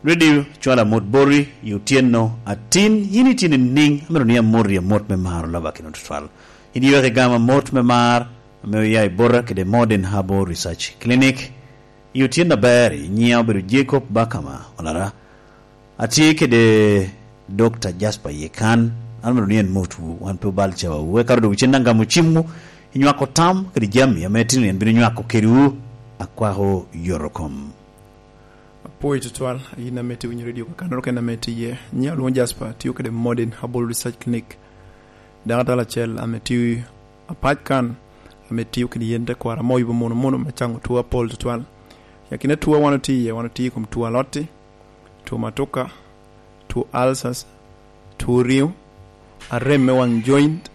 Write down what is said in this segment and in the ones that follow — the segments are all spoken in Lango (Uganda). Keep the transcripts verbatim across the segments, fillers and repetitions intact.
Redio cwalo amot boti i otyeno atin, yin itye nining? Amito ni amoti amot me maro laba kino tutwal. Yin iweko igamo amot me mar ame oya i bota kede Modern Herbal Research Clinic. I otyeno aber, nyiŋa obedo Jacob Bakama Olara. Atye kede Dokta Jasper Yekan. An amito ni en motwu, wan pe obal cawawu. Eka odok cen daŋ gamo cimwu, inywako tam kede jami ame itino ni en bino nywako kedwu. Akwako yorokom. Apwoyo tutwal, yin ame itye winyo redio kakannoro kene ame itye iye. Nyiŋa olwoŋo Jasper, atio kede Modern Herbal Research Clinic. Dako atal acel ame tio apac kan, ame tio kede yen tekwaro ame oyubo mono mono me caŋo two apol tutwal. I akina two wan otye iye, wan otye i kom two alotti, two matuka, two ulcers, two riŋo, arem me waŋ joint,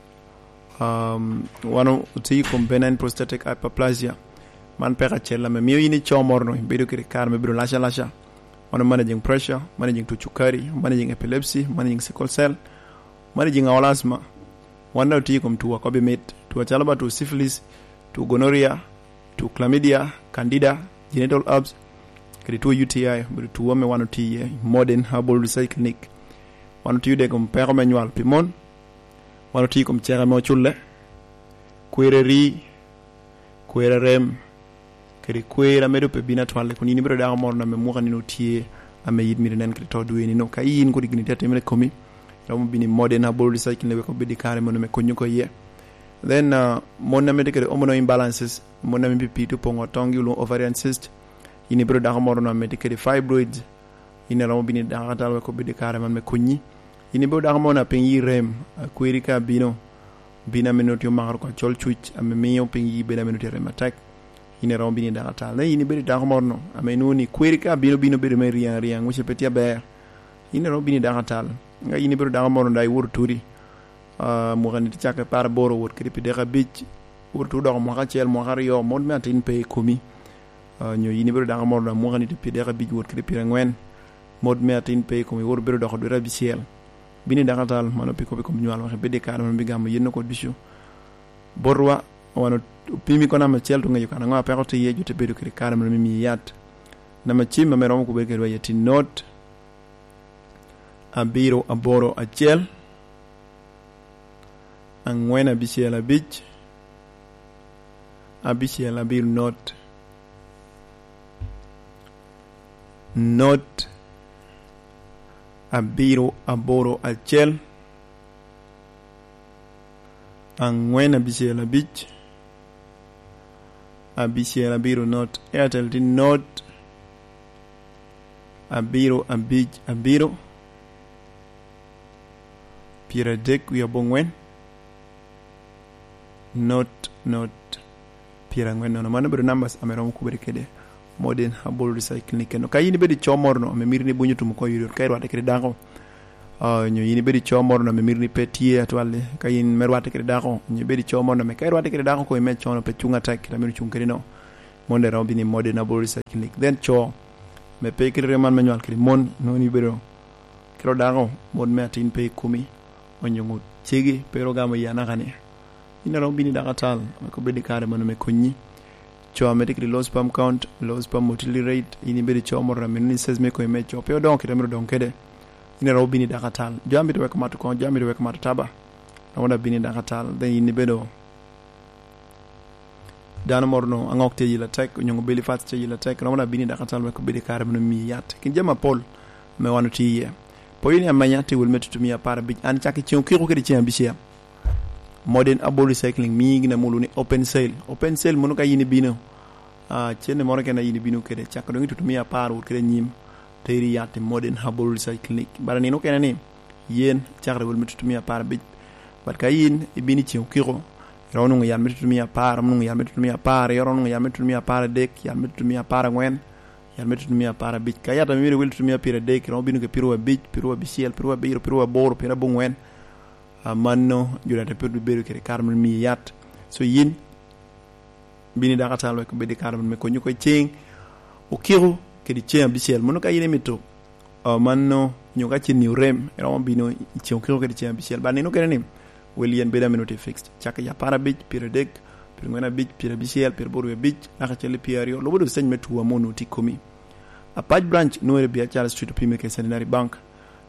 um, wan otye i kom benign prostatic hyperplasia. Man peko acel ame mio yin ico moro-nu ibedo kede kare me bedo lac alaca. Wan managing pressure, managing two cukari, managing epilepsy, managing sickle cell, managing all asthma. Wan daŋ otye i kom two akobi mit, two acalo ba two syphilis, two gonorrhea, two chlamydia, candida, genital herpes, kede two U T I, obedo two ame wan otye iye i Modern Herbal Research Clinic. Wan otio de i kom peko me nywal pi mon, wan otye i kom ceke ame oculle, kwero eri, kwero arem, kede kwero ame doŋ pe bino atwalle, kun yin ibedo dako moro ame mwaka nino tye ame yit myero inen kede to dwe nino. Ka yin kodi gin tye atimere i komi, romo bino i Modern Herbal Research Clinic wek obed i kare mono me konyo oko iye. Then, uh, mon ame tye kede hormonal imbalances, mon ame pii tye opoŋo tongi olwoŋo ovarian cyst, yin ibedo dako moro ame tye kede fibroids, yin iromo bino i dako atal wek obed i kare man me konyi. Yin ibedo dako moro ame piny yi rem, a kweri ka bino, bino ame nongo tye omako oko acol cuc, ame mio piny yi bedo ame nongo tye rem atek. Yin iromo bino i dako atal. Nen, yin ibedo dako moro no, ame inwoŋo ni kweri ka bino, bino bedo me ryaŋ aryaŋ, wece pe tye aber. Yin iromo bino i dako atal. Ka yin ibedo dako moro no, dok iwoto turi, ah, mwaka ni tye cakke par aboro, wot kede pi dek abic, wot tu doko mwaka acel, mwaka aryo, mot me atin pe i komi. Ah, nyo yin ibedo dako moro daŋ mwaka ni tye pi dek abic, wot kede pyerangwen, mot me atin pe i komi, wot ibedo doko dwete abicel. Bino i dako atal, mano pi kop i kom nywal, wek ibed i kare ma bigamo yen oko ducu. Botwa, wan opimi kono namba acel, tu ŋeyo kan aŋo a peko tye iye, jo te bedo kede kare ma mimi yat. Namba cim ame romo kubere kedwa iye tye not, abiro aboro acel, angwen abicel abic, abicel abiro not, not abiro aboro acel, angwen abicel abic, abicel abiro not. Airtel tye not abiro abic abiro, pyeradek wie abongwen, not, not, pyerangwen nono. Mano obedo numbers ame romo kubere kede Modern Herbal Research Clinic eno. Ka in ibedo i co moro no, ame miri ni bunyo tum oko i yor ka irwatte kede dako, ah, nyo in ibedo i co moro no, ame miri ni pe tye atwal-li, ka in me rwatte kede dako, nyo ibedo i co moro no, ame ka irwatte kede dako ko ime cono pe cuŋ atek, kit ame icuŋ kede no, mon dero bino i Modern Herbal Research Clinic. Then co, me pe kite remo man me nywal kede mon, nwoŋo ni ibedo kite dako, mon me atin pe i komi, onyo cegi pe ro gamo i anaka ni. In aromo bino i dako atal, wek obed i kare mono me konyi. Co ame tye kede low sperm count, low sperm motility rate, in ibedo i co moro ame ni size me komi me co pe odongo kite myero odong kede. In aromo bino i dako atal. Jo amito weko mato koŋ, jo amito weko mato taba, romo da bino i dako atal. Then in ibedo dano moro no aŋok tye yila tek, onyo belly fat tye yila tek, romo da bino i dako atal wek obed i kare mono mi yat. Kin jami apol ame wan otye iye. Poyo ni amenya tye wel me tutumia apar abic, an cak i ceŋ okiko kede ceŋ abicel. Modern Herbal Recycling mii gin amulu ni open sale. Open sale mono ka in ibino, ah, cene moro kene in ibino kede, cako doŋ i tutumia apar wot kede anyim, teri yat i Modern Herbal Research Clinic. Bara nino kene ni, yen cakere wel me tutumia apar abic. But ka in ibino i ceŋ okiko, iromo nwoŋo yat me tutumia apar, iromo nwoŋo yat me tutumia apar, iromo nwoŋo yat me tutumia apar adek, yat me tutumia apar angwen, yat me tutumia apar abic. Ka yat ame myero wel tutumia pyeradek, iromo bino kede pyeradek abic, pyeradek abicel, pyeradek abiro, pyeradek aboro, pyeradek abongwen. Ah, mano, jo data pe obedo kede kare me miyo yat. So yin, bini dako atal wek obed i kare me konyo oko i ceŋ okiko kede ceŋ abicel. Mono ka in imito, ah, mano, nyo ka cen-ni orem, iromo bino i ceŋ okiko kede ceŋ abicel. Ba nino kene ni, wel yen bedo ame nwoŋo tye fixed. Cak i apar abic, pyeradek, pyerangwen abic, pyerabicel, pyeraboro abic, naka cel i pyeraryo, lubo doŋ stage me two ame onwoŋo tye i komi. Apac Branch nwoŋere Biacara Street, opime kede Centenary Bank.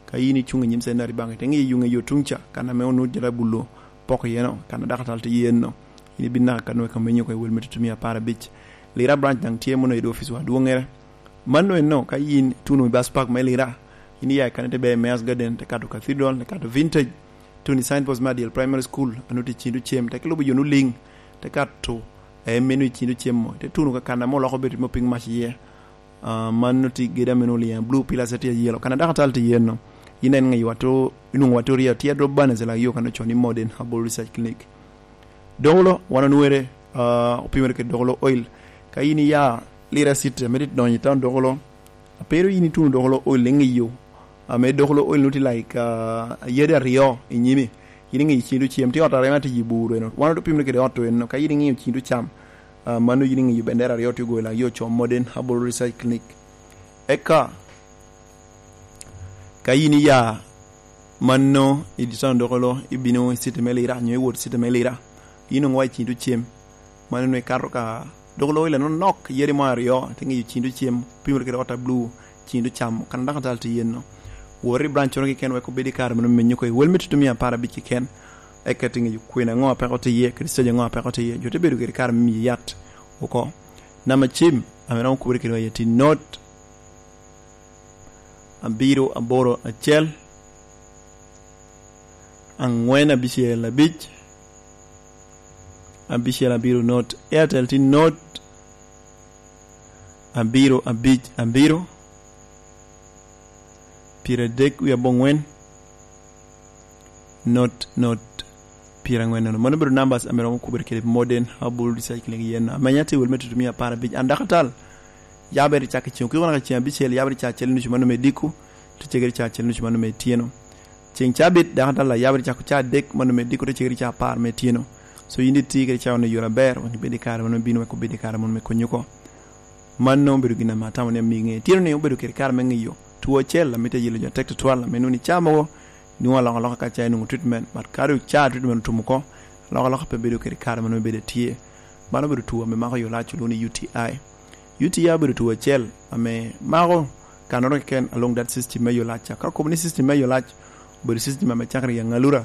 Ka yin icuŋ i nyim Centenary Bank, ite ŋiyo yuŋ i yo tuŋ ca, kan ame onwoŋo jalo abulo poko iye no, kan a dakatal tye iye no, yin ibin naka kan nwoŋo ka menyo oko i wel me tutumia apar abic. Lira Branch daŋ tye mono i oficwa adwoŋŋere. Mano enno, ka yin ituno i bus park me Lira, yin iya i kan ite ber i Mayor's Garden, te kato Cathedral, te kato Vintage, tuno i signpost me Adyel Primary School, a nwoŋo tye i Cindu Cem, te kilubo yo nwoŋo liŋ, te kato, eh, meno i Cindu Cem mo, te tuno ka kan ame oloko bedo me opiny mac iye. Ah, mano tye gedo ame nwoŋo liŋ, blue pillars tye ayelo, kan a dakatal tye iye no. Yin en ŋeyo wato, inwoŋo wato ria tye adrop bana i lak yo kan ocoo ni Modern Herbal Research Clinic. Dokolo, wan onwoŋere, ah, opimere kede Dokolo Oil. Ka yin iya Lira City, ame tye donyo i town Dokolo, a pero yin ituno Dokolo Oil i ŋiyo, ame Dokolo Oil nwoŋo tye like, ah, yadi aryo i nyimi, yin iŋiyo Cindu Cem, tye ot aryo ma tye i bur eno. Wan opimere kede ot eno, ka yin iŋiyo Cindu Cam, ah, mano yin iŋiyo bendera aryo tye ogoyo lak yo ocoo Modern Herbal Research Clinic. Eka, ka yin iya mano i town Dokolo, ibino i city me Lira, nyo iwot i city me Lira, yin onwoŋo wa i Cindu Cem, mano nwoŋo ikato ka Dokolo Oil anonok, yadi mo aryo, ite ŋiyo Cindu Cem, pimere kede ot a blue, Cindu Cam, kan a dakatal tye iye no. Wot i branch-nono keken wek obed i kare mano menyo oko i wel me tutumia apar abic keken, eka ite ŋiyo kwena ŋo a peko tye iye, kede stage ŋo a peko tye iye, jo te bedo kede kare me miyi yat oko. Namba cim, ame romo kubere kede wa iye tye not abiro aboro acel, angwen abicel abic, abicel abiro not. Airtel tye not abiro abic abiro, pyeradek wie abongwen, not not pyerangwen nono. Mano obedo numbers ame romo kubere kede Modern Herbal Research Clinic yen. Amenya tye wel me tutumia apar abic. An dakatal, yabere cak i ceng okiko naka ceng abicel, yabere ca acel nucu mano me diko, te cegere ca acel nucu mano me tyeno. Ceng cabit, dakatal a yabere cako ca adek mano me diko, te cegere ca apar me tyeno. So yin itye kede cawa-ni i yore aber, wek ibed i kare mano me bino, wek obed i kare mano me konyi oko. Mano obedo gin ame atamo ni amio iŋe. Tyeno-ni obedo kede kare me ŋiyo two acel ame tye yelo jo atek tutwal, ame nwoŋo i caa mogo nwoŋo alokaloka ka ca inwoŋo treatment, but ka doŋ ca treatment otum oko, alokaloka pe bedo kede kare mano me bedo atye. Mano obedo two ame mako yo lac, olwoŋo ni U T I. U T I obedo two acel ame mako kannoro keken along that system me yo lac ca. Ka okobo ni system me yo lac obedo system ame cakere i aŋalura,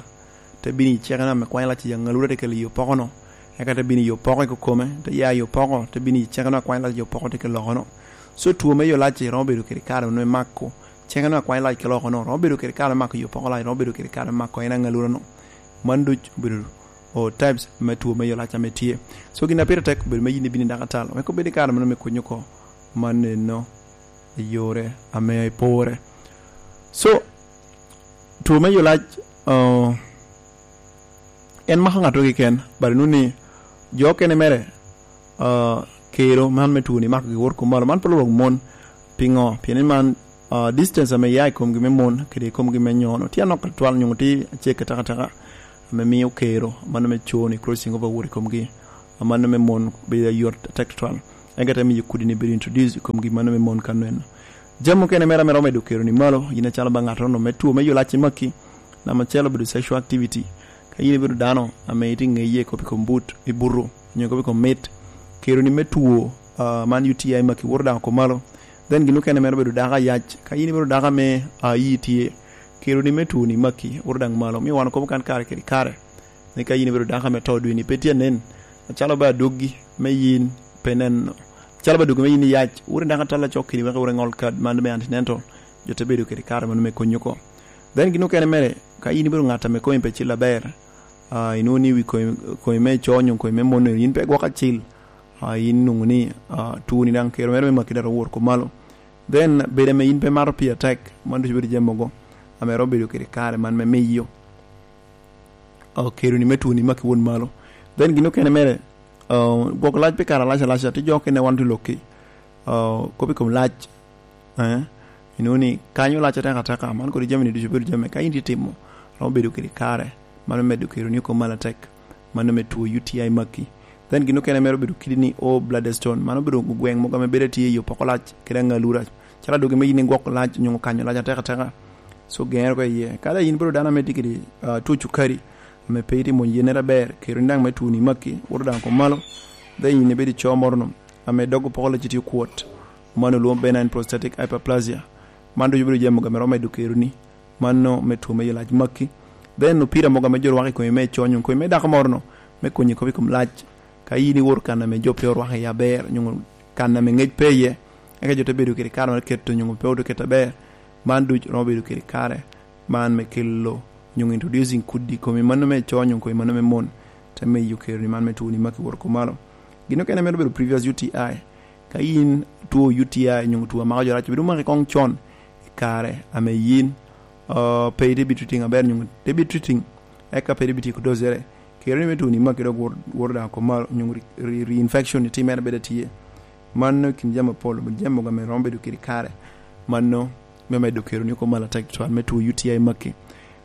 te bino i cekeno ame kwany lac i aŋalura, te kelo i opoko-no, eka te bino i opoko i kokome, te ya i opoko, te bino i cekeno a kwany lac i opoko, te kelo oko-no. So two me yo lac romo bedo kede kare me mako cekeno a kwany lac kelo oko-no, romo bedo kede kare me mako i opoko lac, romo bedo kede kare me mako en aŋalura-no. Man duc obedo o types me two me yo lac ame tye. So gin a pire tek obedo me yin ibino i dakatal, wek obed i kare meno me konyi oko. Man eno i yore ame ipore. So, two me yo lac, uh, en mako ŋatto keken, but inwoŋo ni jo okene mere, uh, kero man me two-ni mako gi wot kom malo. Man pe olwok mon. Piŋo? Pien ni man, uh, distance ame ya i komgi me mon kede i komgi me nyono tye anok tutwal, nyoŋo tye acek atekateka, ame mio kero mano me co-ni crossing over wot i komgi, mano me mon bedo ayot atek tutwal. Eka te miyo kudi-ni bedo introduce i komgi, mano me mon kano eno. Jami mukene mere ame romo medo kero-ni malo, yin acalo ba ŋattono me two me yo lac i maki, namba acel obedo sexual activity. Ka yin ibedo dano ame itye ŋeye kop i kom but, i buto, nyo kop i kom mit, kero-ni me two, ah, man U T I maki woto daŋ oko malo. Then gin okene mere obedo dako ayac. Ka yin ibedo dako ame, ah, iyi tye, kero-ni me two-ni maki woto daŋ malo. Omio wan okobo kan kare kede kare ni ka yin ibedo dako ame to dwe-ni pe tye anen, acalo ba adwoggi me yin pe neno, acalo ba adwoggi me yin iyac, wot i dako atal acok keni wek wot iŋol kad man me antenatal, jo te bedo kede kare mano me konyi oko. Then gin okene mere, ka yin ibedo ŋat ame komi pe cil aber, ah, inwoŋo ni wi komi, komi me co nyo komi me mon, yin pe gwok acil, ah, yin inwoŋo ni, ah, two-ni daŋ kero mere me maki dok owot oko malo. Then bedo ame yin pe mato pii atek, man ducu bedo jami mogo ame romo bedo kede kare man me miyo, ah, kero-ni me two-ni maki wot malo. Then gin okene mere, ah, gwoko lac pi kare alac alac, tye jo okene wan tye lokki, ah, kop i kom lac, eh, inwoŋo ni kanyo lac atek ateka, man kodi jami-ni ducu bedo jami ka in tye timo, romo bedo kede kare, mano medo kero-ni oko malo atek, mano me two U T I maki. Then gin okene mere obedo kidi ni o bladder stone, mano obedo gweŋ mogo ame bedo tye i opoko lac kede aŋalura, calo adwogi me yin igwoko lac nyo kanyo lac atek ateka, so geŋere oko iye. Ka dong yin bedo dano ame tye kede, ah, two cukari, ame pe itye mwony yennere aber, kero-ni daŋ me two-ni maki, woto daŋ oko malo, then yin ibedo i co moro-nu, ame dog opoko lacci tye okwot, man olwoŋo benign prostatic hyperplasia. Man ducu bedo jami mogo ame romo medo keroni, mano me two me yolac maki. Then opira mogo ame jo rwako i kome me co nyo kome me dako moro-nu, me konyo kop i kom lac. Ka in iwor kan ame jo pe orwako iye aber, nyo kan ame ngec pe iye, eka jo te bedo kede kare me keto nyo pe odo keto aber, man ducu romo bedo kede kare man me kelo nyo introducing kudi i komi, mano me co nyo komi, mano me mon, te miyo keroni man me two ni maki woro komalo. Gin okene mere obedo previous U T I. Ka in two U T I nyo two amako jo rac, bedo maki kong con i kare ame yin, uh, pe ite bi treating aber, nyo te bi treating, eka pe ite bi tiko dosere. Kero ni me two ni maki dok wor, wor daŋ komalo, nyo re, re, reinfection itimere bedo tye. Mano i kin jami apol, obedo jami mogo ame romo bedo kede kare. Mano me medo keroni oko malo atek tutwal me two U T I maki.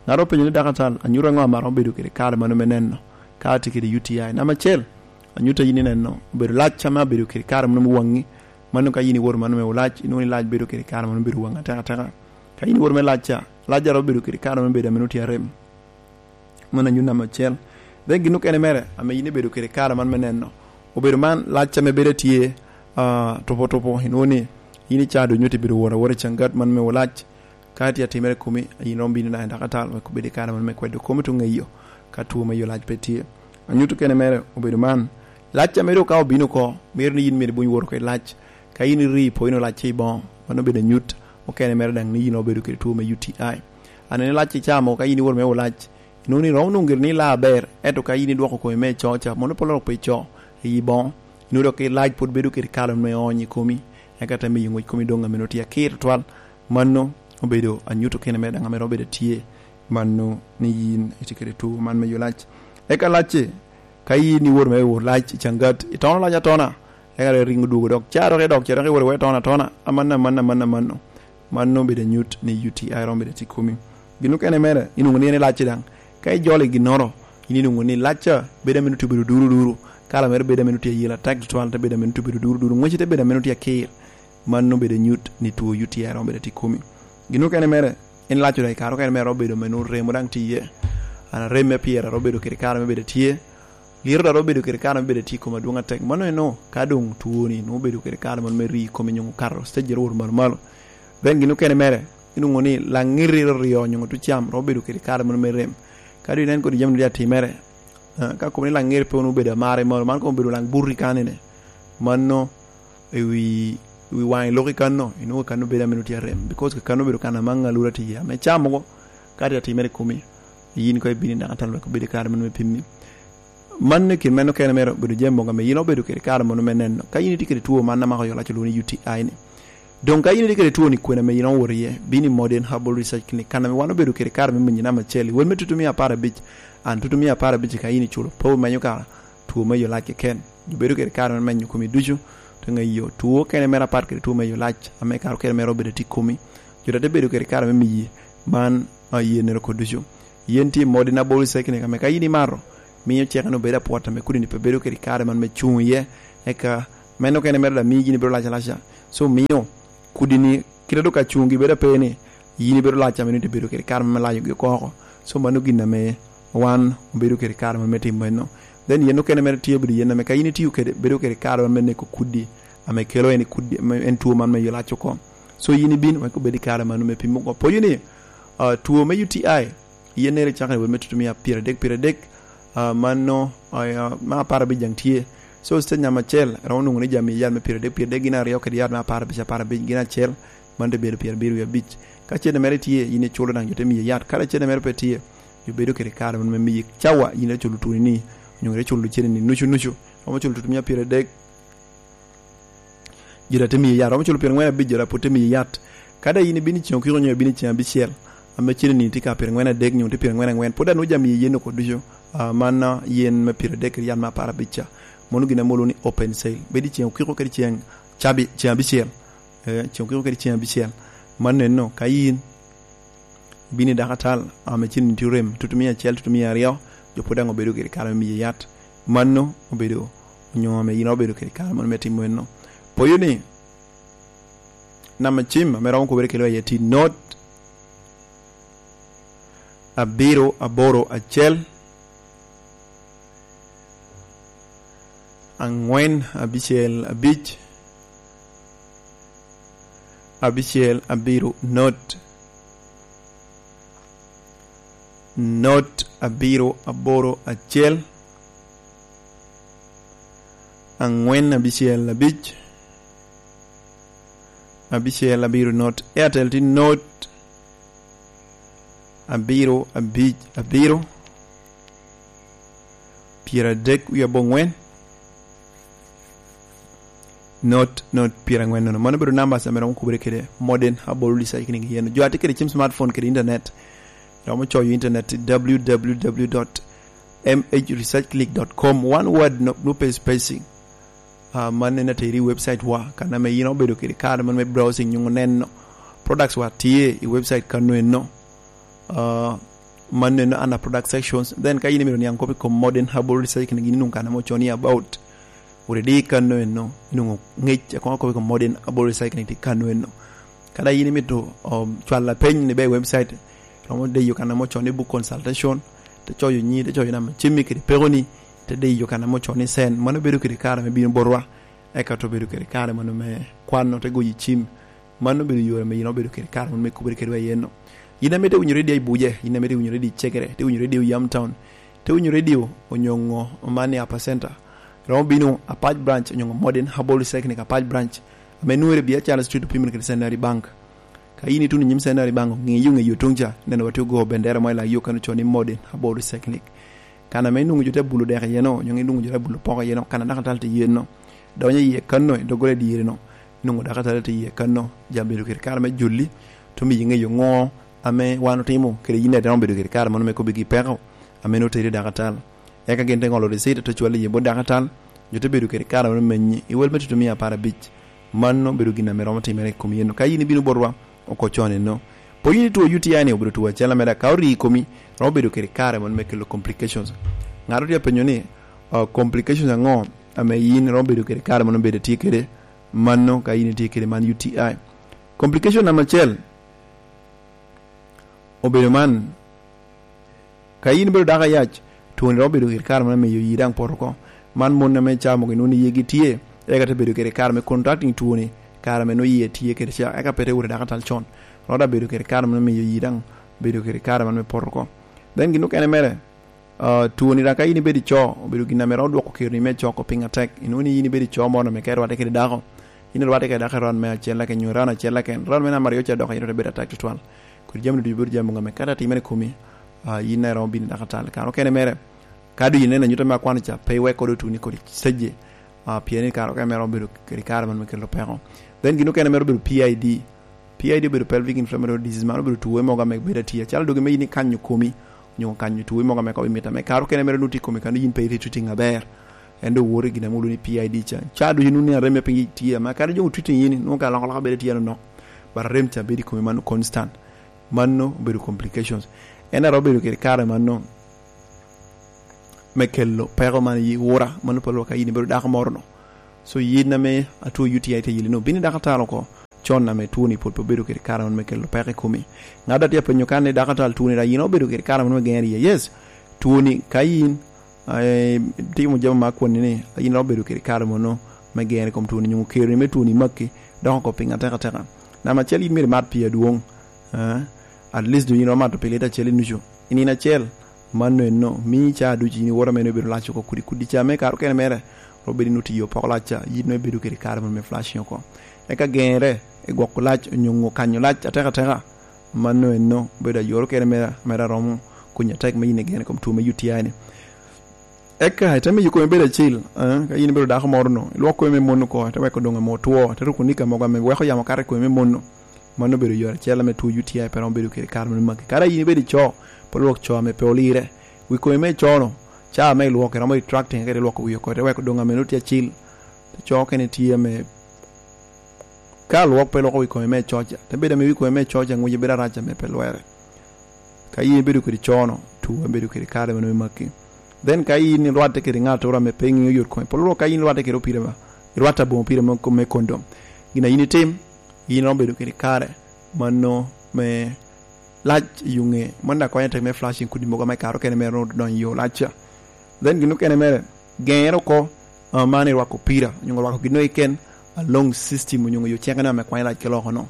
Ŋat openyo ni, "Daktar, anyuto aŋo ame aromo bedo kede kare mano me neno ka atye kede U T I?" Namba acel, anyuto a yin ineno obedo lac ame abedo kede kare mano me waŋi. Mano ka yin iwoto mano me olac, inwoŋo ni lac bedo kede kare mano bedo waŋi atek ateka. Ka yin iwoto me lac ca, lac a romo bedo kede kare mano bedo ame nwoŋo tye arem. Mano anyuto namba acel. Then gin okene mere ame yin ibedo kede kare man me neno, obedo man lac ame bedo tye, ah, tupo tupo, inwoŋo ni yin i caa ducu nyo tye bedo woro awora i caŋ gat man me olac. Ka tye atimere i komi, yin romo bino daŋ i daktar wek obed i kare man me kwedo komi tuŋ eyo ka two me yo lac pe tye. Anyuto okene mere obedo man, lac ame dok ka obino oko, mito ni yin myero ibuny woro kede lac. Ka yin iri ipoyo nwoŋo lac tye i boŋo, mano obedo anyut okene mere daŋ ni yin obedo kede two me U T I. Anene lac i caa mogo ka yin iwoto me olac, inwoŋo ni romo nwoŋo gire ni ilaa aber, ento ka yin idwoko komi me co ca, mono pe oloko pe co i boŋo, inwoŋo dok lac pwod bedo kede kalo me ony i komi, eka te miyo ŋwec komi doŋ ame nwoŋo tye akir tutwal. Mano obedo anyuto kene mere daŋ ame romo bedo tye, mano ni yin itye kede two man me yo lac. Eka lacci, ka yin iwoto me wot lac i caŋ gat, itono lac atona, eka dok iriŋo dwogo dok, ca dok idok, ca dok iwoto iweko itono atona, amanno, amanno, amanno, amanno. Mano obedo anyut ni U T I romo bedo tye i komi. Gin okene mere, inwoŋo ni en i lacci daŋ. Ka ijolo i ginnoro, yin inwoŋo ni lacca bedo ame nwoŋo tye obedo duru duru, kala mere bedo ame nwoŋo tye ayela atek tutwal, te bedo ame nwoŋo tye obedo duru duru, ŋwecci te bedo ame nwoŋo tye aker. Mano obedo anyut ni two U T I romo bedo tye i komi. Gin okene mere, en lac daŋ i kare okene mere romo bedo ame nwoŋo remo daŋ tye iye. An arem me pyera romo bedo kede kare me bedo tye. Liro daŋ romo bedo kede kare me bedo tye i kom adwoŋ atek. Mano eno ka doŋ twoni nwoŋo bedo kede kare moro me ri i kome nyo okato stage ero wot malo malo. Then gin okene mere, inwoŋo ni laŋiri ryo nyo tucam romo bedo kede kare moro me rem. Ka doŋ inen kodi jami doŋ atimere, ah, ka kobo ni laŋiri pe wunu obedo amare malo, man kobo obedo laŋ buti kanine. Mano i wi, i wi waŋ i lok i kanno, inwoŋo kanno bedo ame nwoŋo tye arem, because kanno obedo kan ame aŋalura tye iye, ame caa mogo ka tye atimere i komi, yin koŋ ibino i daktar wek obed i kare mano me pimmi. Man i kin meno kene mere obedo jami mogo ame yin obedo kede kare mano me neno. Ka yin itye kede two man amako yo lac olwoŋo ni U T I ni, doŋ ka yin itye kede two ni kwena ame yin owoto iye, bino i Modern Herbal Research Clinic, kan ame wan obedo kede kare me menyi namba acel, i wel me tutumia apar abic, an tutumia apar abic ka yin iculo pe omenyo kara two me yo lac keken. Jo bedo kede kare me menyo komi ducu, te ŋeyo two kene mere apat kede two me yo lac, ame kare okene mere obedo tye i komi. Jo te bedo kede kare me miyi man, ah, yenere oko ducu. Yen tye i Modern Herbal Research Clinic, ame ka yin imato, miyo ceke ni obedo apwot ame kodi ni pe bedo kede kare man me cuŋ iye, eka meno kene mere daŋ miyo yin ibedo lac alaca. So miyo kodi ni kite dok ka cuŋgi bedo ape ni, yin ibedo lac ame nwoŋo ibedo kede kare me layogi oko oko. So mano gin ame wan obedo kede kare me timo enno. Then yen okene mere tye obedo yen ame ka yin itiyo kede, bedo kede kare me neko kudi ame kelo en kudi, ame en two man me yo lac oko. So yin ibin wek obed i kare mano me pimo oko. Poyo ni, ah, two me U T I, yen nere cakere wot me tutumia pyeradek, pyeradek, ah, mano, ah, ma apar abic daŋ tye. So, stage namba acel, romo nwoŋo ni jami yat me pyeradek, pyeradek gin aryo kede yat me apar abic, apar abic gin acel, man te bedo pyerabiro wie abic. Ka cene mere tye, yin iculo daŋ jo te miyi yat. Ka cene mere pe tye, jo bedo kede kare me miyi cawa, yin iculo twoni ni, onyo ite culo cene ni nucu nucu. Romo culo tutumia pyeradek, jo daŋ te miyi yat. Romo culo pyerangwen abic, jo daŋ pwod te miyi yat. Ka daŋ yin ibino i ceŋ okiko onyo ibino i ceŋ abicel, ame cene ni tye ka pyerangwen adek nyo tye pyerangwen angwen, pwod daŋ nwoŋo jami yen oko ducu. Ah, man, ah, yen me pyeradek kede yat me apar abic ca. Mano gin ame olwoŋo ni open sale. Bedo i ceŋ okiko kede ceŋ cabi-, ceŋ abicel. Eh, ceŋ okiko kede ceŋ abicel. Man eno, ka yin bino i dakatal, ame cen tye orem, tutumia acel, tutumia aryo, jo pwod daŋ obedo kede kare me miye yat. Mano obedo, onyo ame yin obedo kede kare mano me timo enno. Poyo ni, namba cim ame romo kubere kelo aye tye not abiro aboro acel, angwen abicel abic, abicel abiro not, not abiro aboro acel, angwen abicel abic, abicel abiro not. Airtel tye not abiro abic abiro, pyeradek wie abongwen, not not pyerangwen nono. Mano bedo namba ame romo kubere kede Modern Herbal Recycling yen. Jo a tye kede cim smartphone kede internet, romo coyo internet i w w w dot m h recycling dot com. One word, no, no space spacing. Ah, man en ateri i website wa, kan ame yin obedo kede kare man me browsing, nyuŋ neno products wa tye i website kano eno. Ah, man eno under product sections. Then ka yin imito niaŋ kop i kom Modern Herbal Recycling, yin inuŋ kan ame oconi about. Wot idi kano eno, inuŋo ŋec, akoŋo kop i kom Modern Herbal Recycling tye kano eno. Kada yin imito, um, cwalo lapeny ni be i website, romo diyo kan ame oconi book consultation, te coyo nyi, te coyo namba cimmi kede pekoni, te diyo kan ame oconi send. Mano bedo kede kare me bino botwa, eka to bedo kede kare mano me kwano, te goyo i cim. Mano obedo yore ame yin obedo kede kare mano me kubere kedwa i eno. Yin ame te winyo redio i Buje, yin ame te winyo redio i Cegere, te winyo redio i Yam Town, te winyo redio onyoŋo man i Upper Center, romo bino Apac Branch onyoŋo Modern Herbal Recycling Apac Branch, ame nwere bia Charles Street opimere kede Centenary Bank. Ka yin ituno i nyim Centenary Bank, ŋeyo ŋeyo tuŋ ca, neno wa tye ogo bendera mo i lak yo kan ocoo ni Modern Herbal Recycling. Kan ame inuŋo jo te bulo dek iye no, onyoŋo inuŋo jo te bulo poko iye no, kan a dakatal tye iye no. Donyo iye kan no, i doggola i dyere no, inuŋo dakatal tye iye kan no, ja bedo kede kare me joli, te miyi ŋeyo ŋo ame wan otimo, kede yin daŋ obedo kede kare mano me kobbi gi peko ame nwoŋo oteri i dakatal. Eka gin te ŋolo receipt, te cwalo iye bot dakatal, jo te bedo kede kare mano menyi, i wel me tutumia apar abic. Mano bedo gin ame romo timere i kom yen. Ka yin ibino botwa, oko con eno. Pe yin itwo U T I ni obedo two acel ameda, ka ori i komi, romo bedo kede kare mano me kelo complications. Ŋat otye apenyo ni, uh, complications aŋo ame yin romo bedo kede kare mano bedo tye kede? Mano ka yin itye kede man U T I. Complication namba acel obedo man, ka yin ibedo dako ayac, twoni romo bedo kede kare mano miyo yi daŋ poto oko. Man mon ame ca mogo inwoŋo ni yigi tye, eka te bedo kede kare me contracting twoni, kare ame nwoŋo yie tye kede ca, eka pe te wot i dakatal con. Romo daŋ bedo kede kare mano miyo yi daŋ bedo kede kare mano me poto oko. Then gin okene mere, ah, twoni daŋ ka yin ibedo ico, obedo gin ame romo dwoko keroni me ico oko piny atek. Inwoŋo ni yin ibedo ico moro ame ka irwatte kede dako, yin irwatte kede dako i round me acel aken, nyo round acel aken, round me namba aryo ca dok yin ote bedo atek tutwal. Kodi jami ducu bedo jami mogo ame ka te timere i komi, ah, yin daŋ iromo bino i dakatal. Kare okene mere, ka doŋ ineno anyuta me akwano ca, pe iwek kodo otuni kodi seje, ah, pien i kare okene mere obedo kede kare man me kelo peko. Then gin okene mere obedo P I D. P I D obedo pelvic inflammatory disease, man obedo tuwe mogo ame bedo atye. Acalo dogi me yin ikanyo komi, onyo kanyo tuwe mogo ame kobo i mita me kare okene mere nwoŋo tye i komi kano yin pe irito tiŋ aber. En doŋ woto i gin ame olwoŋo ni P I D ca. Ca ducu nwoŋo ni arem me piny tye, ame kadi jo otwiti yin, nwoŋo ka alokaloka bedo tye anonok. But arem ca bedo i komi mano constant. Mano obedo complications. En daŋ romo bedo kede kare mano me kelo peko man i ura, mano pe lwak ka yin ibedo dako moro no. So yin ame atwo U T I te yeli no, bino i dakatal oko. Con ame twoni pwod pe obedo kede kare mano me kelo peko i komi. Ŋat a tye apenyo kan ni dakatal twoni daŋ yin obedo kede kare mano me gero iye. Yes, twoni ka yin, eh, timo jami me akwani ni, yin obedo kede kare mano me gero i kom twoni, nyo keroni me twoni makki, dok oko piny atekateka. Namba acel yin myero imat pii adwoŋ. Eh, at least doŋ yin iromo mato pi lita acel i nucu. I nino acel, mano eno, mii ca ducu yin iwoto ame nwoŋo ibedo lac oko kudi kudi ca me kare okene mere, romo bedo ni otiyo poko lac ca, yin nwoŋo ibedo kede kare moro me flushing oko. Eka geŋere i gwoko lac, onyo kanyo lac atekateka, mano eno, obedo ayoro kene mere, mere aromo konyi atek me yin igene i kom two me U T I ni. Eka ite miyo komi bedo acil, eh, ka yin ibedo dako moro no, ilwok komi me mon oko, ite weko doŋ ame otwo, ite ruko nika mogo ame weko yamo kato i komi me mon no. Mano obedo yore acel ame two U T I pe romo bedo kede kare mano magi. Kara yin ibedo ico, pe lwok co ame pe olire. Wi komi me co no, ca ame ilwoko, iromo retracting, kede lwoko wi oko, ite weko doŋ ame nwoŋo tye acil. Te co kene tye ame ka lwok pe lwoko wi komi me co ca, te bedo ame wi komi me co ca ŋwece bedo arac ame pe lwere. Ka yin ibedo kede co no, two en bedo kede kare mano me makki. Then ka yin irwatte kede ŋattoro ame pe iŋeo yot kome, pol wok ka yin irwatte kede opira ma, irwatte aboŋo opira me, me kondom. Gin a yin itim, yin iromo bedo kede kare mano me lac i yo ŋe, mano daŋ konyo tek me flushing kudi mogo ame kare okene mere nwoŋo donyo i yo lac ca. Then gin okene mere, geŋere oko, ah, man irwako opira, onyo rwako gin keken along system, onyo yo cekene ame kwanyo lac ki loko no.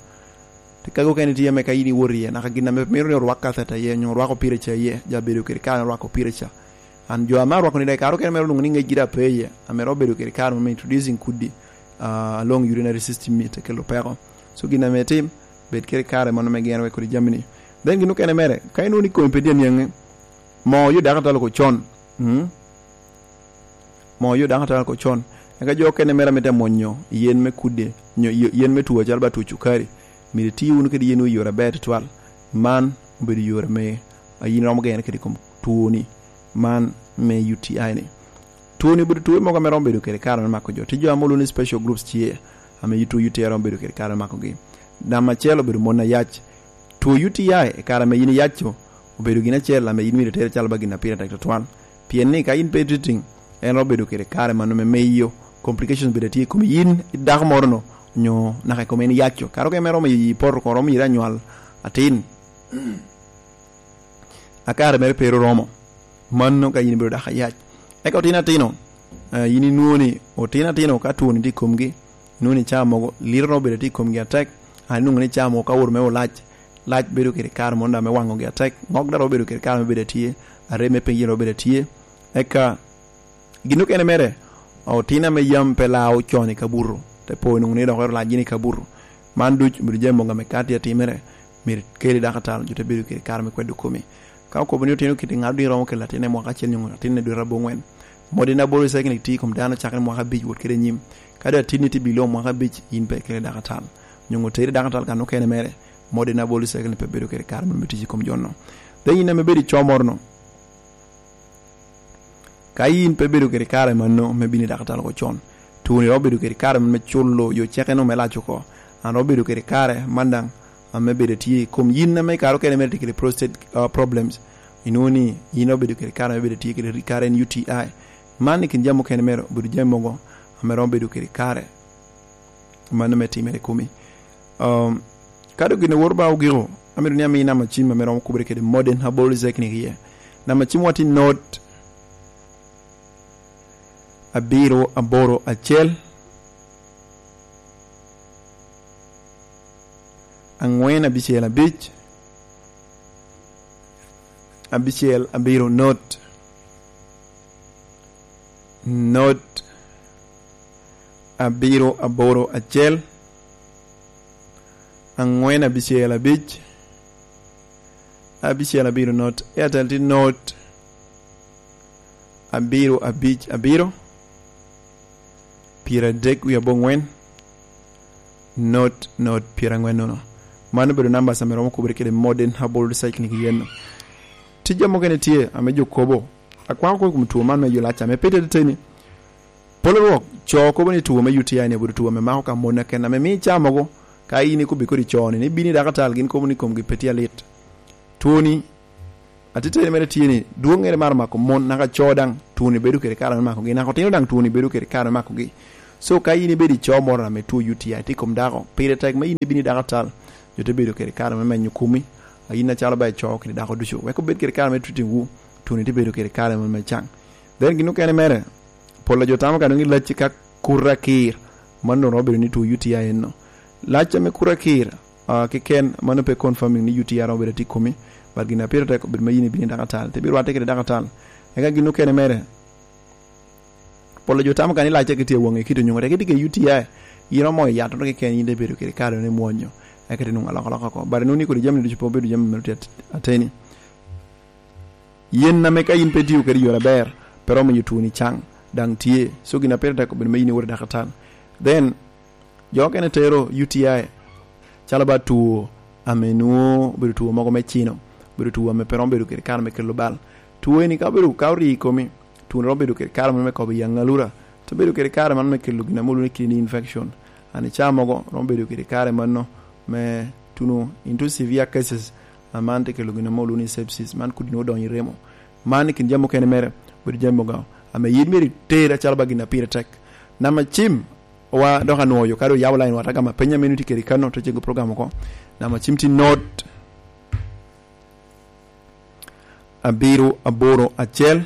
Te kagi okene tye ame ka in iwot iye, naka gin ame mito ni orwak katheta iye, nyo orwako pire ca iye, ja bedo kede kare me rwako pire ca. An jo ame arwako ni daŋ i kare okene mere onwoŋo ni ŋec gire ape iye, ame ro bedo kede kare me introducing kudi, ah, along urinary system ni te kelo peko. So gin ame itim, bed kede kare mano me geno wek kodi jami ni. Then gin okene mere, ka inwoŋo ni komi pe tye aniaŋe, mo yo dakatalo ko con. Mm? Mo yo dakatalo ko con. Eka jo okene mere ame te mwonyo yen me kudi, nyo yo-, yen me tuo acalo ba tuo cukari, myero iti wunu kede yen i yore aber tutwal. Man obedo yore me a yin romo gene kede i kom tuoni man me U T I ni. Tuoni obedo tuo mogo ame romo bedo kede kare me mako jo. Tye jo ame olwoŋo ni special groups tye, ame tuo U T I romo bedo kede kare me makogi. Namba acel obedo mon ayac. Tuo U T I i kare ame yin iyaco obedo gin acel ame yin myero itere calo ba gin a pire tek tutwal. Pien ni ka yin pe ititiŋ, en romo bedo kede kare mano me miyo complications bedo tye i kom yin i dako moro-nu, nyo naka i kom en iyaco. Kare okene romo i poto oko, romo yiri anywal atin. A kare mere pe oromo. Mano ka yin ibedo dako ayac. Eka otino atino, eh, yin inwoŋo ni otino atino ka twoni tye i komgi, inwoŋo ni caa mogo liro romo bedo tye i komgi atek, a inwoŋo ni caa mogo ka owoto me olac, lac bedo kede kare moro daŋ me waŋogi atek, ŋok daŋ romo bedo kede kare me bedo atye, arem me piny romo bedo atye. Eka gin okene mere, otino ame yam pe lao con i kabuto, te po inwoŋo ni dok ero lac gin i kabuto. Man duc obedo jami mogo ame ka tye atimere, myero ikeli dakataro, jo te bedo kede kare me kwedo komi. Ka okobo ni otino kiti ŋat odino romo kelo latinne mwaka acel nyo latinne dwe aboŋwen, modern aboro recycling tye i kom dano cakere mwaka abic wot kede anyim. Ka doŋ atinni tye below mwaka abic, yin pe ikele dakataro. Nyo oteri dakataro kan okene mere, modern aboro recycling pe bedo kede kare me tic i kom jo-nu. Then yin ame bedo i co moro-nu, ka yin pe bedo kede kare mano me bino i dakataro oko con, twoni romo bedo kede kare me culo yo ceke-nu me lac oko. An romo bedo kede kare man daŋ ame bedo tye i kom yin ame i kare okene mere tye kede prostate, uh, problems. Inwoŋo ni yin romo bedo kede kare ame bedo tye kede ri-, kare en U T I. Man i kin jami okene mere obedo jami mogo ame romo bedo kede kare mano me timere i komi. Um, ka doŋ gin owoto ba ogiko, amito ni ami namba cim ame romo kubere kede modern herbal technique iye. Namba cim watti not abiro aboro acel, aŋwen abicel abic, abicel abiro not, not abiro aboro acel, aŋwen abicel abic, abicel abiro not. Airtel tye not abiro abic abiro, pyeradek wie aboŋwen, not, not pyeraŋwen nono. Man obedo namba ame romo kubere kede modern herbal recycling yen. Tija mukene tye ame jo kobo. Akwako kop i kom two man me yolac ame pe tye teteni. Polo rwok, co kobo ni two me U T I ni obedo two ame mako ka mon aken, ame miyo i caa mogo, ka in ikobbi kodi co-ni, ni bino i dakatal, gin kobo ni komgi pe tye alit. Two-ni, atiteni mere tye ni, dwoŋŋere maro mako mon, naka co daŋ, two-ni bedo kede kare me makogi, naka otino daŋ two-ni bedo kede kare me makogi. So, ka in ibedo i co moro ame two U T I tye i kom dako, pire tek me in ibino i dakatal, jo te bedo kede kare me menyo komi, a in acalo ba i co kede dako ducu, wek obed kede kare me treating wu, two-ni tye bedo kede kare me, me caŋ. Then gin okene mere, pol a jo tamo ka nwoŋo i lacci ka kuto akir, mano doŋ romo bedo ni two U T I enno. Lac ame kuto akir, ah, keken, mano pe confirming ni U T I romo bedo tye i komi, but gin a pire tek obedo me in ibino i dakatal, te bino rwatte kede dakatal. Eka gin okene mere, pol a jo tamo ka ni lacce ki tye i waŋe kite onyoŋo tek itye kede U T I, in romo moyo yat moro keken, in te bedo kede kare ni mwonyo, eka te nwoŋo alokaloka oko. But nwoŋo ni kodi jami ducu pe obedo jami mere tye at-, ateni. Yen ame ka in pe itio kede i yore aber, pe romo miyo twoni caŋ, daŋ tye. So gin a pire tek obedo me in iwot i dakatal. Then, jo okene tero U T I, calo ba two ame nwoŋo obedo two mogo me cino, obedo two ame pe romo bedo kede kare me kelo bal. Two eni ka obedo, ka orii i komi, two-ni romo bedo kede kare moro me kobo i aŋalura, te bedo kede kare mano me kelo gin ame olwoŋo ni kidney infection. An i caa mogo romo bedo kede kare mano me tuno into severe cases, a man te kelo gin ame olwoŋo ni sepsis, man kodi nwoŋo odonyo i remo. Man i kin jami okene mere, bedo jami mogo ame yin myero iter acalo ba gin a pire tek. Namba cim, wa dok anwoyo, ka doŋ oyabo line wa, atye gamo apenyo ame nwoŋo tye kede i kano, to cego program oko. Namba cim tye not abiro aboro acel,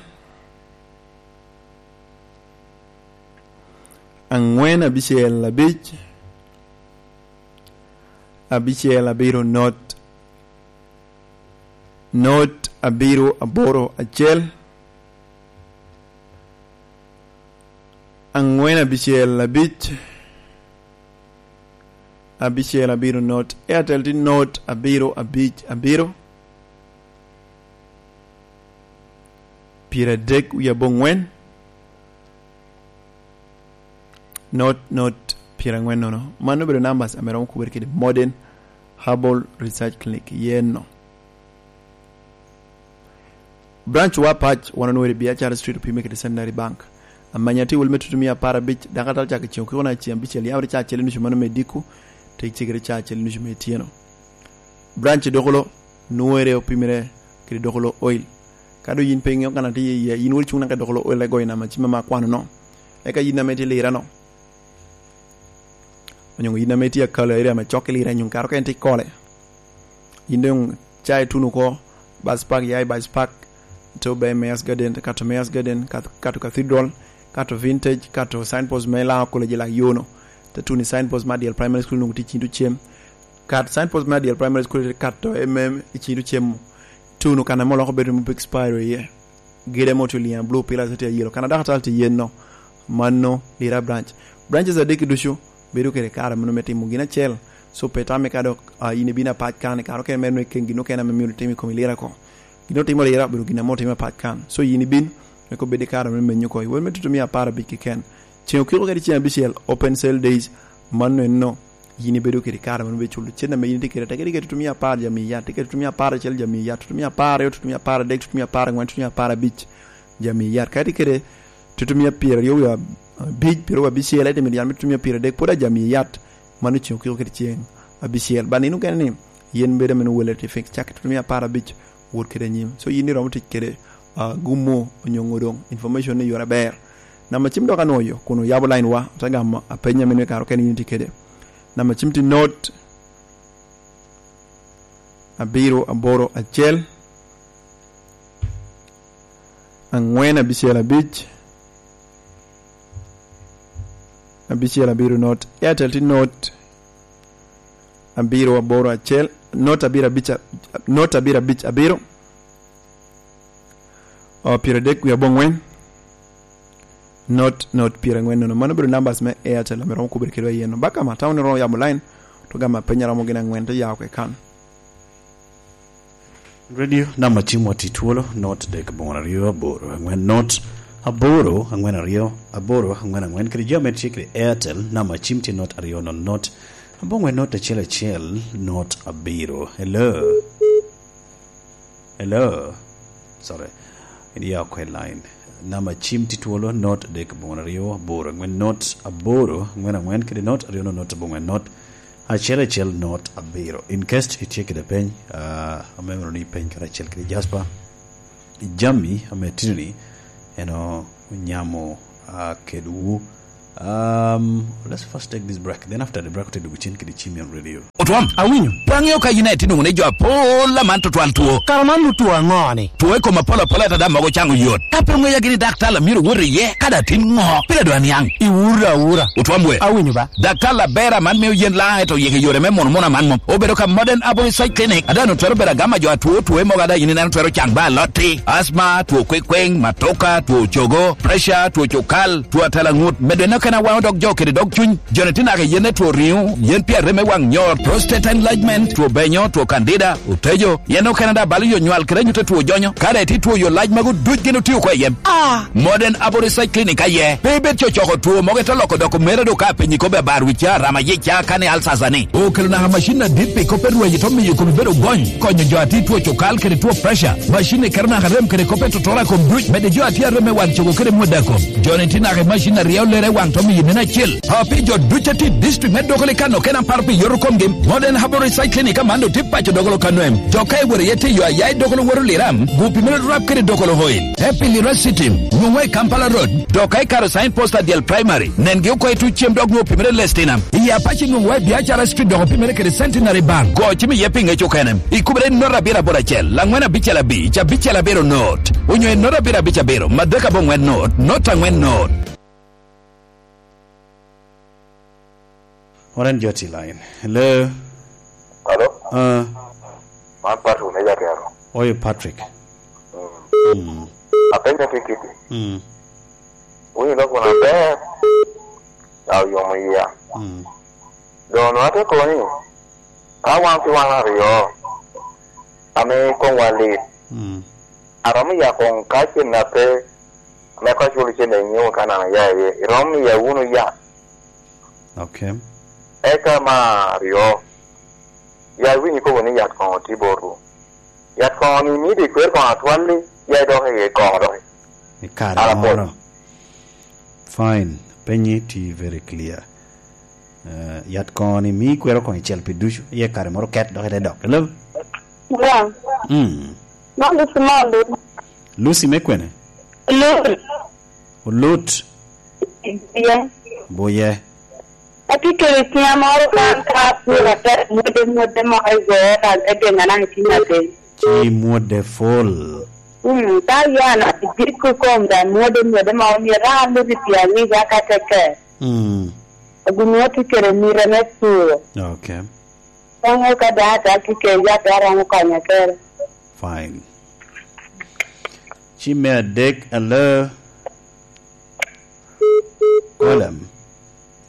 aŋwen abicel abic, Abicel abiro not, not abiro aboro acel, angwen abicel abic, abicel abiro not. Airtel tye not abiro abic abiro, pyeradek wie abongwen, not not pyerangwen nono. Mano obedo numbers ame romo kubere kede Modern Herbal Research Clinic yeno. Branch wa pac wan onwere Biachara Street, opime kede Centenary Bank. Amanya tye wel me tutumia apar abic, dako atal cako ceŋ okiko na ceŋ abicel, yawere ca acel i nucu mano me diko, te cegere ca acel i nucu me ityeno. Branch Dokolo nwere opimere kede Dokolo Oil. Ka doŋ yin pe iŋeo kan atye iye, yin wot icuŋ naka i Dokolo Oil, igoyo namba cim ame akwano no. Eka yin ame itye i Lira no, onyo yin ame itye i Akalo area ame cok i Lira, nyo kare okene itye i Kole, yin doŋ ca ituno oko, Bus Park, ya i Bus Park, ite obe Mayor's Garden, kato Mayor's Garden, kato, kato Cathedral, kato Vintage, kato signpost me Lango College i lak yo no. Te tuno i signpost me Adyel Primary School, nwoŋo tye i cin tucem. Kat signpost me Adyel Primary School, kato M M i cin tucem. Tuno kan ame oloko bedo me big spiro iye. Gede mo tye liŋ blue pillars tye yellow. Kan adaka tal tye yen no. Mano Lira branch. Branches adek ducu bedo kede kare mano me timo gin acel. So pe tamme ka dok, ah, in ibino apac kan, kare okene mere nongo iken gin okene ame myero itim i kom Lira ko. Gin otimo Lira obedo gin ame otimo apac kan. So yin ibin, wek obed i kare me menyo oko. Iwot me tutumia apar abic keken. Ceŋ okiko kede ceŋ abicel, open sale days, mano enno, yin ibedo kede kare mano me culo cen ame yin itye kede, tekere kede tutumia apar jami yat, tekere tutumia apar acel jami yat, tutumia apar aryo, tutumia apar adek, tutumia apar angwen, tutumia apar abic jami yat. Ka itye kede tutumia pyeraryo wie abic, pyeraryo abicel, ite miyo yan me tutumia pyeradek, pwod a jami yat, mano ceŋ okiko kede ceŋ abicel. Ba nino kene ni, yen bedo ame nwoŋo welle tye fix, cak i tutumia apar abic, wot kede anyim. So yin iromo tic kede, ah, gumo onyo ŋo doŋ, information ni yore aber. Namba cim dok anwoŋo yo, kun oyabo line wa, ote gamo apenya meno i kare okene yin itye kede. Namba cim tye not abiro aboro acel, angwen abicel abic, abicel abiro not. Airtel tye not abiro aboro acel, not abiro abic a-, not abiro abic abiro. O, pyeradek wie abongwen, not, not pyerangwen nono. Mano obedo numbers me Airtel ame romo kubere kedwa iyeno. Baka ma, tamo ni romo yabo line, to gamo apenya romo gin angwen, te ya oko i kan. Radio, namba cimwa tye twolo, not dek abongwen aryo aboro angwen not aboro angwen aryo aboro angwen angwen. Kede jo ame tye kede Airtel, namba cim tye not aryo nono not abongwen not acel acel not abiro. Hello? Hello? Sorry. Idia oko i line. Namba cim tye twolo, not dek abongwen aryo aboro angwen not aboro angwen angwen, kede not aryo nono not abongwen not acel acel not abiro. In case itye kede peny, ah, amemoro ni ipeny karacel kede Jasper. Jami ame tino ni, en onyamo, ah, kedwu. Um, let's first take this break. Then after the break, ote dugu cen kede Chimian Radio. Otwam, awinyo. Pe aŋeo ka yin aye tye nwoŋo ni jo apol aman tutwal two. Kara man nut two aŋo ni? Two i kom apol apol ata dam mogo caŋo yot. Ka pe oŋeya gini daktar a myero wot iye, ka da tin ŋo? Pire dwa niaŋ. Iwura awura. Otwam we. Awinyo ba. Daktar aber aman mio yen laŋ eto yeke yore me mono mono aman mom. Obedo ka Modern Aboriginal Clinic. Ada no twero bedo agama jo atwo two mogo ada yin ineno twero caŋ ba alotti. Asma, two kwekweŋ, matoka, two cogo, pressure, two cukal, two atalaŋut, medo en okene awaŋo dog jo kede dog cuny. Joni tye naka yen me two riŋo, yen pi arem me waŋ nyor, prostate enlargement, two benyo, two candida, otejo, yen okene da balo yo nywal kede anyutte two jonyo. Ka dai tye two yo lac magu duc gin otio oko i yem. Ah! Modern Aboriginal Clinic aye. Pe ibed cocoko two mogo ite loko doko mere do ka penyi kobe abar wica, rama yica, kane alsasa ni. Okelo naka macin adit pi kop me rwenyo to miyo komi bedo gony. Konyo jo atir two cukal kede two pressure. Macin ni keto naka rem kede kop me totoro a kom duc. Mede jo atir arem me wan cogo kede mwada kom. Joni tye naka i macin aryo lere i waŋ to miyo neno acil. Api jo duc atir district me Dokoli kan okene aparo pi yoto komgi. Modern Herbal Research Clinic aman do tye paco Dokolo Kanwem. Dok ka iworo iye tye yo aya i Dokolo woro Liram, gupi mere rap kede Dokolo Hoil. Te pi Lira City, nwoŋo i Kampala Road. Dok ka ikaro sign post Adyel Primary, nengi oko i tuc cem dok nwoŋo opimere Lestina. I Apac nwoŋo wa i Biacara Street dok opimere kede Centenary Bank. Go cim iye pi ŋec okene. Ikubere not abiro aboro acel, angwen abicel abic, abicel abiro not. Onyo i not abiro abic abiro, madek abongwen not, not angwen not. Wan en jo tye line. Hello? Ah, Man Patrick me Jatero. Oyo Patrick. Mm. Mm. Apenyo kikiti. Mm. Winy loko na ber. Ka oyomo iya. Mm. Dono ate koni. Ka wan ki wan aryo. Ame koŋwa lit. Mm. Aromo ya koŋ ka cen na pe. Me ka culo cen enyo ka nana ya ye. Iromo ya wunu ya. Okay. Eka ma aryo. Ya winy kobo ni yat koŋo tye botwu. Yat koŋo ni mio de kwer koŋo atwalli, ya idok i koŋo dok. I kare Ala moro. Fine. Penyi tye very clear. Eh, yat koŋo ni mio ikwero koŋo icel pi ducu, iye kare moro ket dok ite dok. Hello? Yeah. Mm. Mom Lucy Mondo. Lucy me kwene? Lucy. Olut. Yeah. Buye. Atye kede ciŋa moro kan ka apwod atek mwode mwode moko i goo, ka ate geŋa naka i ciŋa piny. Ci mwode full. Mm, ka yan ijiko kom da mwode mwode moko myero an lubi pi aŋic aka tekke. Mm. Gin atye kede mita me puro. Okay. Koŋo ka da ata tye kede yat a romo konya kere. Fine. Ci me adek, hello. Kolem.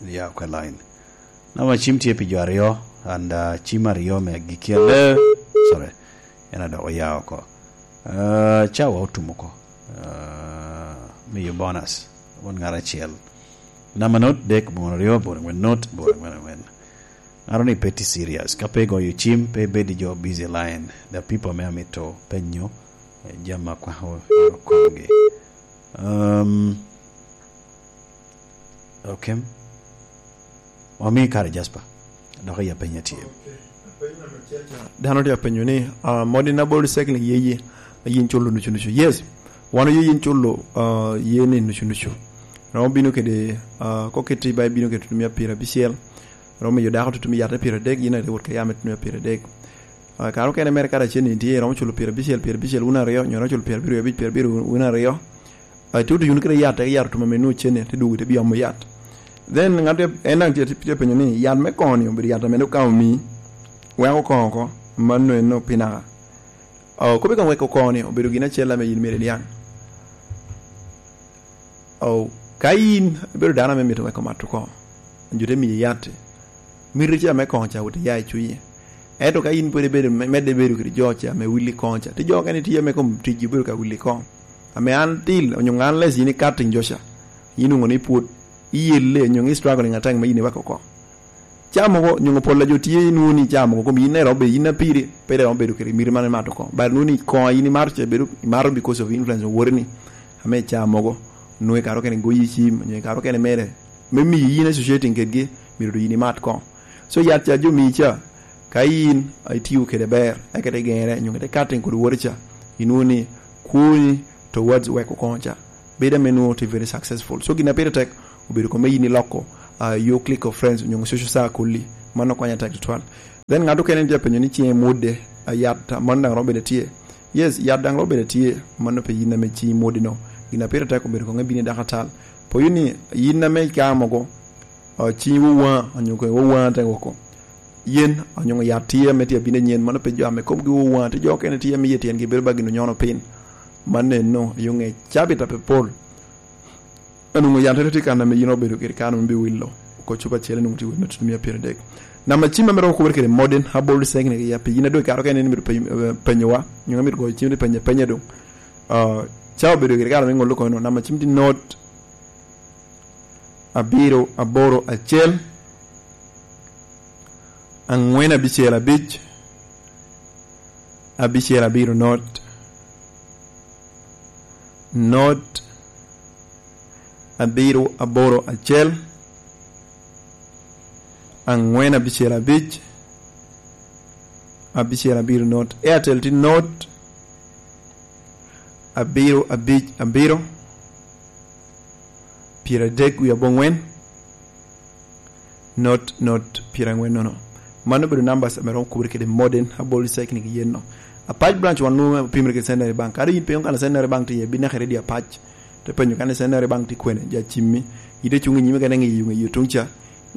Ya, okwe line. Namba cim tye pi jo aryo, and, uh, cim aryo me agikki ale. Sorry. En adok oya oko. Uh, cawa otum oko. Uh, miyo bonus. Won ŋat acel. Namba not dek, bor aryo, bor angwen not, bor angwen angwen. Ŋato ni pe tye serious. Ka pe igoyo cim, pe ibed i jo busy line. The people me amito penyo, eh, jam akwako i okomgi. Um, okay. Wami kare, Jasper. Dok iya penya tye. Dano tye apenyo ni, ah, modern abol recycling ye ye, yin culo nucu nucu. Yes, wan oye yin culo, ah, ye ni nucu nucu. Romo bino kede, ah, koketi ba ibino kede tutumia pyerabicel. Romo miyo dako tutumia yat me pyeradek, yin aye wot ka yam me tutumia pyeradek. Ah, kare okene mere kare acel ni tye, romo culo pyerabicel, pyerabicel wun aryo, nyo romo culo pyerabiryo abic, pyerabiryo wun aryo. Ah, ituto yuno kede yat, tek yat otuma meno ocene, te dwogo te biomo yat. Then ŋat en daŋ tye, tye penyo ni, yat me koŋo-ni obedo yat ame dok ka omii, weko koŋo oko, mano eno pinaka. Oh, kop i koŋ weko koŋo-ni obedo gin acel ame yin myero iniaŋ. Oh, ka yin ibedo dano ame mito weko mato koŋo, jo te miyi yat, miti ca me koŋo ca wot iya i cunyi. Ento ka yin pwod ibedo me-, medde bedo kede jo ca ame wili koŋo ca, ti jo okene tye ame kom ticgi obedo ka wili koŋo. Ame an til, onyo ŋan les yin i cutting jo ca, yin onwoŋo ni pwod iyelle, onyo i struggling atek me yin iweko oko. Ca mogo, onyo pol a jo tye inwoŋo ni ca mogo kom yin iromo bedo, yin apiri, pe iromo bedo kede miti man imato oko. But inwoŋo ni koŋo a yin imato ca bedo, imato because of influence of wori ni, ame ca mogo, nwoŋo ikaro kene goyi cim, onyo ikaro kene mere, me miyo yin associating kedgi, myero doŋ yin imat koŋo. So yat ca jo mii ca, ka yin itio kede ber, eka ite gere, onyo ite cutting kodi woti ca, inwoŋo ni kwoni towards weko koŋo ca, bedo ame nwoŋo tye very successful. So gin a pire tek, obedo kome yin iloko, ah, your clique of friends, onyo social circle-li, mano konyo atek tutwal. Then ŋat okene tye apenyo ni ciŋe mwode, ah, yat, ah, mano daŋ romo bedo tye. Yes, yat daŋ romo bedo tye, mano pe yin ame ciŋi mwode no. Gin a pire tek obedo koŋe bino i dakatal. Poyo ni yin ame ika mogo, ah, ciŋi wowaŋa, onyo koŋe wowaŋa te woko. Yen, onyo yat tye ame tye abino anyen, mano pe jo ame komgi wowaŋa, tye jo okene tye ame iye tyengi bedo ba gin onyono piny. Mano eno, i oŋe cabit a pe pol. Onwoŋo yattere tye kan ame yin obedo kede kan ame biwilo oko cupa acel, onwoŋo tye wot me tutumia pyeradek. Namba cim ame romo kubere kede modern herbal recycling ya pi yin a doŋ ikato kene ni mito pe-, eh, penyowa, nyo mito goyo cim ni penye apenya doŋ. Ah, ca obedo kede kare me ŋolo kono, namba cim tye not abiro aboro acel, angwen abicel abic, abicel abiro not, not abiro aboro acel, angwen abicel abic, abicel abiro not. Airtel tye not abiro abic abiro, pyeradek wie abongwen, not, not, pyerangwen nono. Mano obedo numbers ame romo kubere kede modern herbal recycling yen no. Apac branch wan nwoŋo opimere kede Centenary Bank. Kadi yin pe okano Centenary Bank tye iye, ibin naka i redio Apac. Te penyo kani Centenary Bank tye kwene, ja cimmi. Ite cuŋ i nyime kene ŋiyo, ŋiyo tuŋ ca.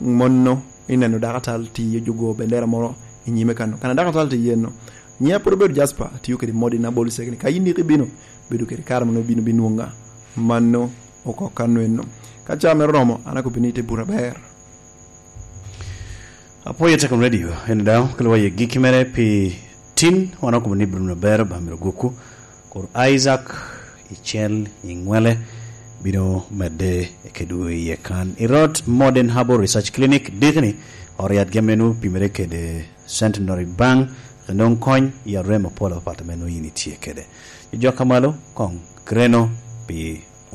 Monno ineno dakatal tye ojugo bendera moro I nyime kan, kan adakatala te yeno. Nyiŋa pwod obedo Jasper, atio kede modin abol cegni. Ka yin rik ibino, bedo kede kare mono ibino binwoŋa. Mano oko kan eno. Ka caa mere oromo, an akobo ni ite bura ber. Apwoyo Tekom Radio, en daŋ kelo wa i gikki mere pi tin, wan okobo ni bino ber ba myero gwokwu. Kur Isaac i cel i ŋwele bino medde kedwu iye kan. I rot Modern Herbal Research Clinic, dikni, ot yat gemmenu pimere kede Centenary Bank, nwoŋ kony i arem apol apat ame nwoŋo yin itye kede. Jok ka malo, koŋ greno pi